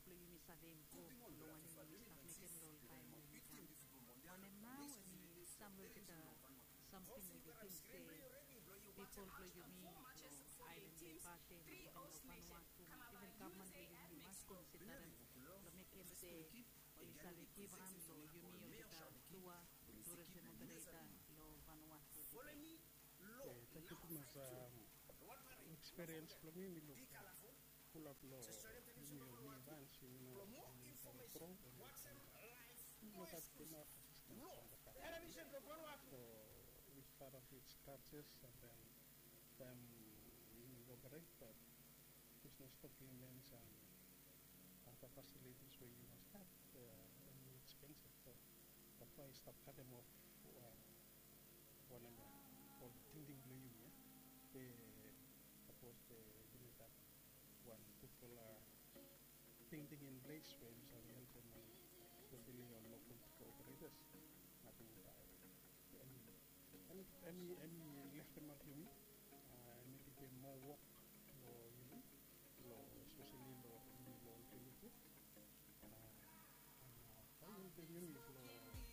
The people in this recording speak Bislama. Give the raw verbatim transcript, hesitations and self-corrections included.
blong yumi save improve long wanem yumi stap mekem long ol taem we yumi kam. Wanem nao, hemi sam long olgeta samting we yu ting se pipol blong yumi long aelan ya i patem, iven long Vanuatu, iven gavman blong yumi i mas konsidarem blong mekem se oli save givhan long yumi olgeta tua turism opereta long Vanuatu tede. Tangkiu tumas. Ekspiriens blong mi, mi luk fulap long yumi ol mivans, yumi no, yumi save gro, yumi no gat inaf asistens from the government. So we start off with scratches, and then taem yumi operate, but business documents and other facilities we yu mas gat, hemi expensive. So that's why i stap katem of wanem ya, ol tingting blong yumi ya. Be sapos be yumi gat wan gudfala tingting in ples we yumi save helpem ol, espeseli ol lokal operetas, nating bae hemi, hemi leftemap yumi. Hemi givim moa wok long yumi, long espeseli long yumi long viles ya. Bae i helpem yumi